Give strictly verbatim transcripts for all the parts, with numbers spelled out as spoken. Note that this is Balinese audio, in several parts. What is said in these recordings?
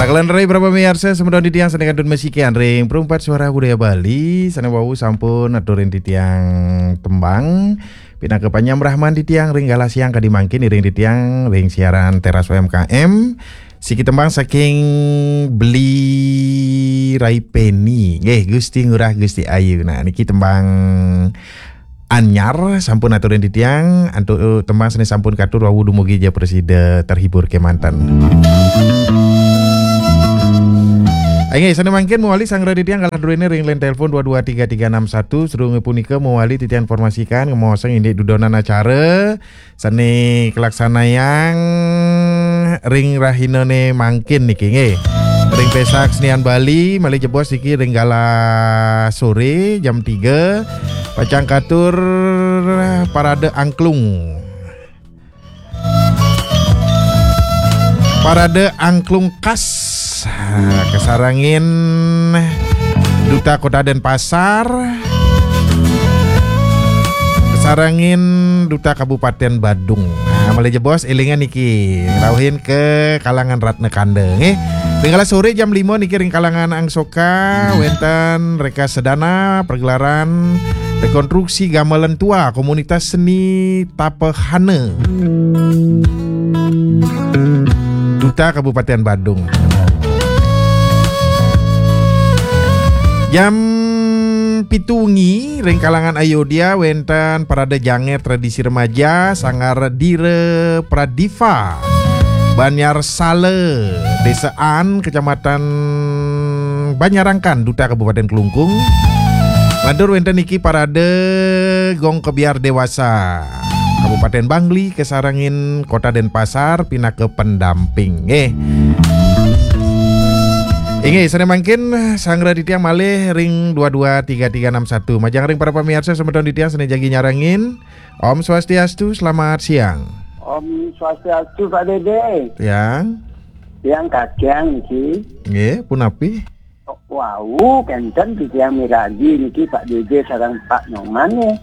Kalih ring para pamiarsa, semeton titiang sané kantun masikian ring Perumpat Suara Budaya Bali, sané wau sampun aturin titiang tembang pinaka panyambrahman titiang ring galah siang kadi mangkin, iring titiang ring siaran Teras U M K M. Siki tembang saking Beli Rai Peni. Nggih, Gusti Ngurah Gusti Ayu. Nah, niki tembang anyar sampun aturin titiang, antuk tembang sané sampun katur wau dumugi ja prasida terhibur kémanten. Inggih, sané mangkin mawali sanggra titiang galah druéné ring line telepon dua dua tiga tiga enam satu, sadurung punika mawali titiang informasikan, ngemaosang indik dudonan acara sané kalaksanayang ring rahinané mangkin niki nggih. Ring Pésak Senian Bali, malih jebos niki ring galah soré jam tiga, pacang katur parade angklung. Parade angklung khas, ah, kasarengin Duta Kota Denpasar, kasarengin Duta Kabupaten Badung. Nah, malih jebos élingang niki, ngrauhin ka kalangan Ratna Kanda, nggih. Ring galah soré jam lima niki ring kalangan Angsoka, wénten Reka Sedana, pergelaran rekonstruksi gamelan tua komunitas seni Tapahana. Duta Kabupaten Badung. Jam pitu wengi, ring kalangan Ayodya, wénten parade janger tradisi remaja, Sanggar Dira Pradiva, Banjar Sala, Désa An, Kecamatan Banjarangkan, Duta Kabupaten Klungkung. Lantur wénten niki parade gong kebyar dewasa, Kabupaten Bangli, kasarengin Kota Denpasar, pinaka pendamping. Nggih. Inggih, sané mangkin sanggra titiang malih ring dua dua tiga tiga enam satu. Majeng ring para pamiarsa semeton titiang sané jagi nyarengin. Om Swastiastu, selamat siang. Om Swastiastu, Pak Dédé. Tiang. Tiang kakiang niki. Nggih, punapi? Wau, kénten titiang miragi niki Pak Dédé sareng Pak Nyoman nggih.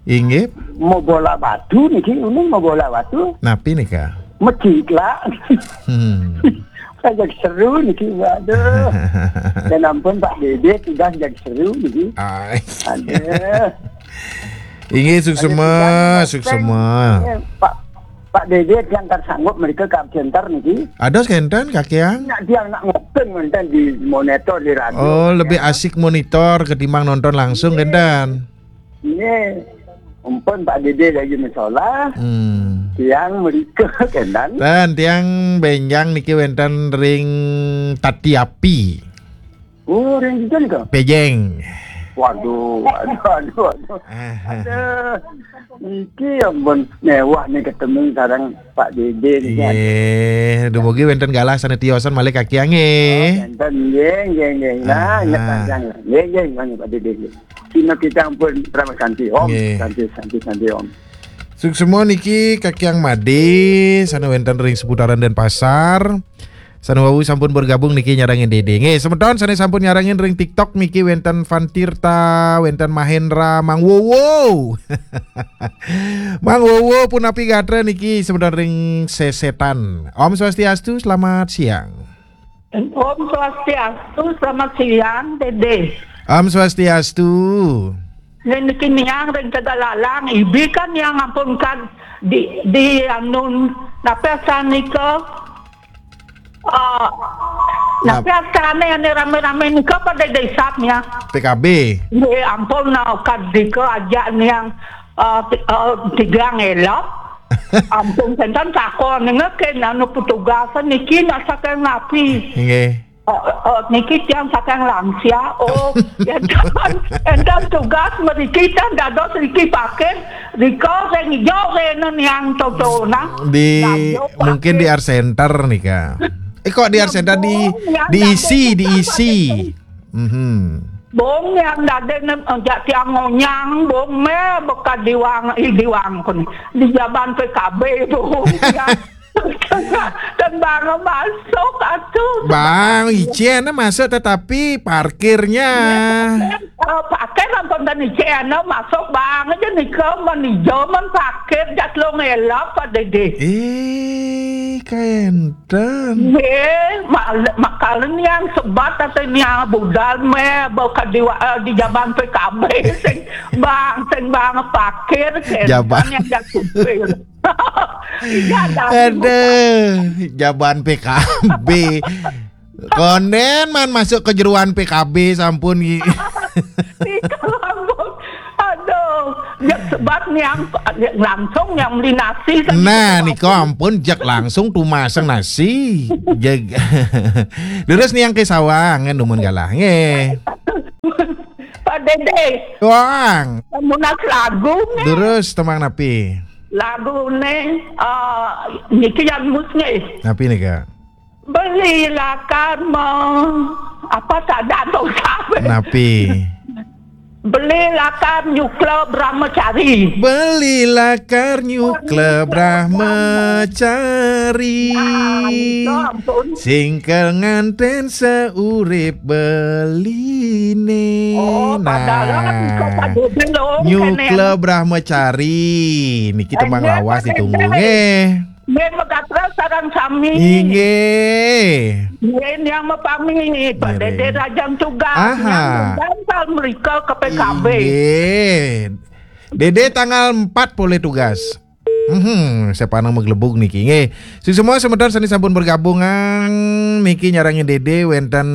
Inggih. Mabola batu niki, uning mabola batu. Napi nika? Mecik lah. Hmm. Udah jadi seru niki, waduh. Dan ampun Pak Dédé, udah jadi seru niki. Ai. Aduh. Inggih, suksma, suksma. Eh, Pak, Pak Dédé, tiang kan sanggup mrika ka center niki. Ados kénten, kakiang? Nak tiang nak nguping wénten di monitor di radio. Oh, lebih asik monitor ketimbang nonton langsung, nggih, kénten? Nggih. Ampun Pak Dédé lagi masolah. Hmm. Tiang mrika kénten. Dan tiang bénjang niki wénten ring Tati Api. Oh, ring dija nika? Pejeng. Waduh, waduh, waduh, waduh. Ah. Aduh. Niki ampun méwah nih ketemu sareng Pak Dédé niki. Nggih, dumugi wénten galah sané tiosan malih kakiang nggih. Oh, wénten, nggih, nggih, nggih. Nah, ah, inget panjang. Nggih, nggih, nggih, Pak Dédé, nggih. Sina kita ampun Parama Santi, Om. Nggih. Santi, Santi, Santi, Om. Suksma niki kakiang Madé, sané wénten ring seputaran Denpasar. Sané wau sampun bergabung niki nyarengin Dédé. Nggih, semeton sané sampun nyarengin ring TikTok niki wénten Van Tirta, wénten Mahendra, Mang Wowo. Mang Wowo punapi gatra niki semeton ring Sesetan. Om Swastiastu, selamat siang. Om Swastiastu, selamat siang, Dédé. Om Swastiastu. Niki niang ring Tegalalang, ibi kan niang ampun kan di, di anu, napi asané nika? Ah, napi asané ané ramé-ramé nika pada desa nya? P K B. Nggih, ampun, nah, kadika ajak niang, ah, ti-, ah, tigang elok. Ampun, kénten takon, nggih, kén anu petugas niki nak saking napi? Nggih. Oh, oh, niki tiang saking lansia. Oh, énten, énten tugas mriki tiang dados niki parkir, rika sing ijo rena niang totona. Di, mungkin di Art Center nika. Eh, kok di Art Center, di, diisi, diisi. Mhm. Bong yang dadi nem, jak tiang ngonyang, bong mé bekas diwang, ih, diwang pun. Di jaban P K B bong yang Dan bang masuk atuh. Bang, icén masuk tetapi parkirnya. Oh, pakai nonton dan icén masuk bang aja nih ke manajemen parkir jat lo ngelap Pak Dede. Eh, kenten. Nggih, mak-, makalen yang sebat atau yang budal meh bakal di, eh, di jaban P K B sing bang sing bang parkir kenten. Jaban. Yang jat supir. Iya, dah. Aduh, jaban P K B. Konden man masuk ke jeruan P K B sampun. Ika lamun. Aduh, ya sebab yang langsung yang beli nasi kan. Nah, itu nika ampun jak langsung tumasang nasi. Jeg. Terus nih yang ke sawah ngen dumun galah nggih. Pak Dede. Wang. Munas lagu nih. Terus temang napi? Lagu nih, eh, niki yang mus nih. Napi nih, Kak? Belilah karma. Apa tak ada atau siapa? Napi? Belilah karma nyukla Brahmacari. Belilah karma nyukla Brahmacari. Ah, itu ampun. Singkel nganten seurip beline. Oh, padahal kan kok Pak Dede lo, nyukla kene. Brahmacari. Niki temang lawas ditunggu. Eh, Nggih, megatrel sareng sami. Inggih. Nggih, yang mepami, Pak Dede Rajang Tugas, aha. Yang menggantal mereka ke P K B. Inggih. Dede tanggal empat boleh tugas. Hmm, siapa nang meglebug niki nggih. Sing semua semeton sani sampun bergabung niki nyarangin Dede wenten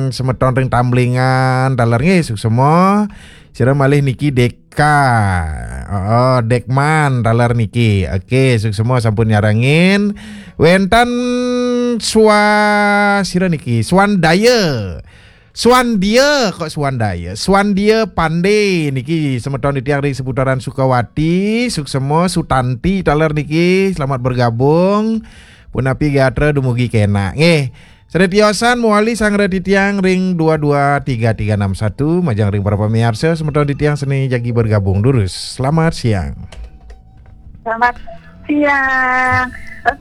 semeton ring Tamblingan taler nggih sing semua. Sira malih niki Deka. Oh, Dekman taler niki. Oke, suksma sampun nyarengin. Wenten swa sira niki, Swandaya. Swandia kok Swandaya. Swandia Pande niki semeton titiang ring seputaran Sukawati, suksma Sutanti taler niki. Selamat bergabung. Punapi gatra dumugi kena. Nggih. Sane tiosan mawali sangra titiang ring dua dua tiga tiga enam satu, majeng ring para pamiarsa semeton titiang sane jagi bergabung durus. Selamat siang. Selamat siang.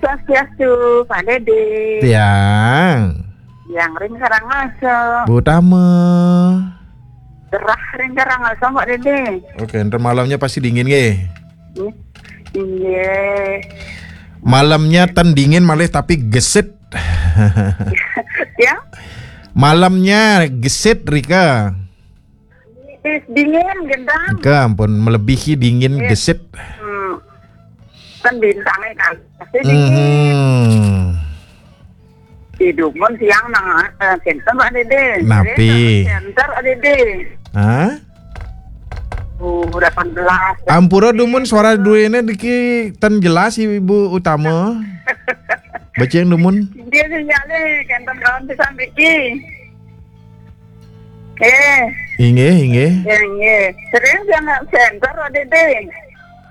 Swastiastu, Pak Dede. Tiang. Yang ring Karangasem. Bu Tama. Gerah ring Karangasem, Pak Dede. Oke, ntar malamnya pasti dingin, nggih. Iya. Malamnya ten dingin malih tapi gesit. Ya? Malamnya gesit, Rika. Is dingin, gendang. Ke ampun, melebihi dingin, iya. Gesit. Hmm. Kan bintangnya kan. Pasti dingin. Hmm. Di dumun siang nang, eh, center, Pak Dede. Napi? Center, Pak Dede. Hah? Oh, delapan belas. Ampura dumun suara duene niki ten jelas Ibu Utama. Baca yang dumun. Dia sinyale kenten kawan pisan niki. Eh. Inggih, inggih. Inggih. Sering siang center, Pak Dede.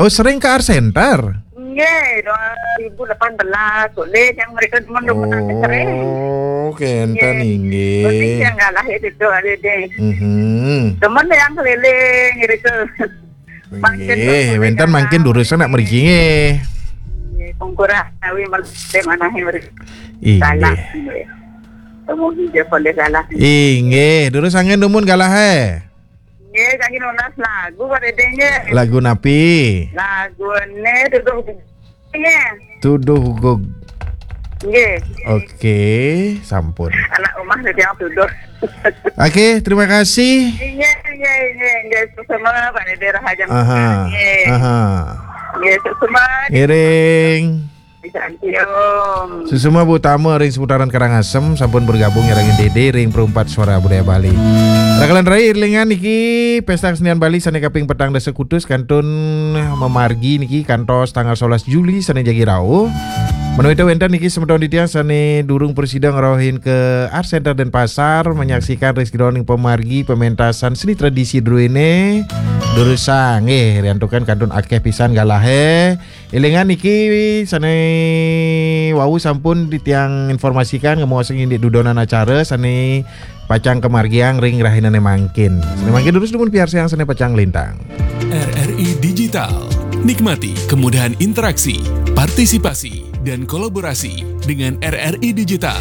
Oh, sering ke Art Center? Nggih, dua ribu delapan belas, boleh yang mereka cuma dua belas sering. Oh, kenten nggih. Nggih. Berarti yang nggak lahir itu ada deh. Mhm. Temen yang keliling gitu. Nggih, wenten mangkin durus nak mriki nggih. Nggih, pungkurah tawi mesti manahe mriki. Inggih. Salah, nggih. Temu dia boleh salah. Inggih, durus angin dumun galah eh. Nggih, kangge nunas lagu, Pak Dede, nggih. Lagu napi? Lagune Tuduh Gugug, nggih. Tuduh Gugug. Nggih. Oke, sampun. Anak omah dadi yang tuduh. Oke, terima kasih. Nggih, nggih, nggih, nggih. Suksma, Pak Dede Rahajeng. Aha, nggih. Aha. Nggih, suksma. Ngiring. Santi, Om. Suksma Bu Tama ring seputaran Karangasem sampun bergabung nyarengin Dede ring Perempat Suara Budaya Bali. Rakalan rai iringan niki Pesta Kesenian Bali sane kaping petang dasa kutus kantun mamargi niki kantos tanggal sebelas Juli sane jagi rauh. Menawi wenten niki semeton titiang sane durung prasida ngrauhin ke Art Center Denpasar menyaksikan ring sajeroning pamargi pementasan seni tradisi druene durusang nggih riantukan kantun akeh pisan galahe. Elingan niki sane wau sampun titiang informasikan ngemuasang indik dudonan acara sane pacang kamargiang ring rahinane mangkin. Sane mangkin durus dumun piarsayang sane pacang lintang. R R I Digital. Nikmati kemudahan interaksi, partisipasi, dan kolaborasi dengan R R I Digital.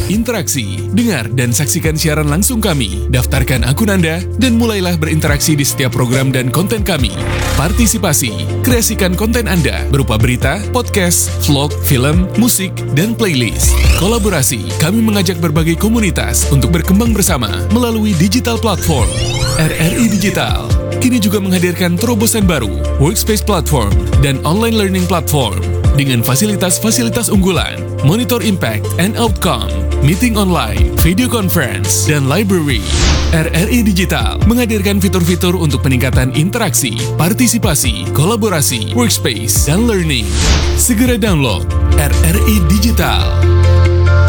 Interaksi, dengar dan saksikan siaran langsung kami. Daftarkan akun Anda dan mulailah berinteraksi di setiap program dan konten kami. Partisipasi, kreasikan konten Anda berupa berita, podcast, vlog, film, musik, dan playlist. Kolaborasi, kami mengajak berbagai komunitas untuk berkembang bersama melalui digital platform. R R I Digital kini juga menghadirkan terobosan baru, Workspace Platform dan Online Learning Platform dengan fasilitas-fasilitas unggulan, monitor impact and outcome, meeting online, video conference, dan library. R R I Digital menghadirkan fitur-fitur untuk peningkatan interaksi, partisipasi, kolaborasi, workspace, dan learning. Segera download R R I Digital.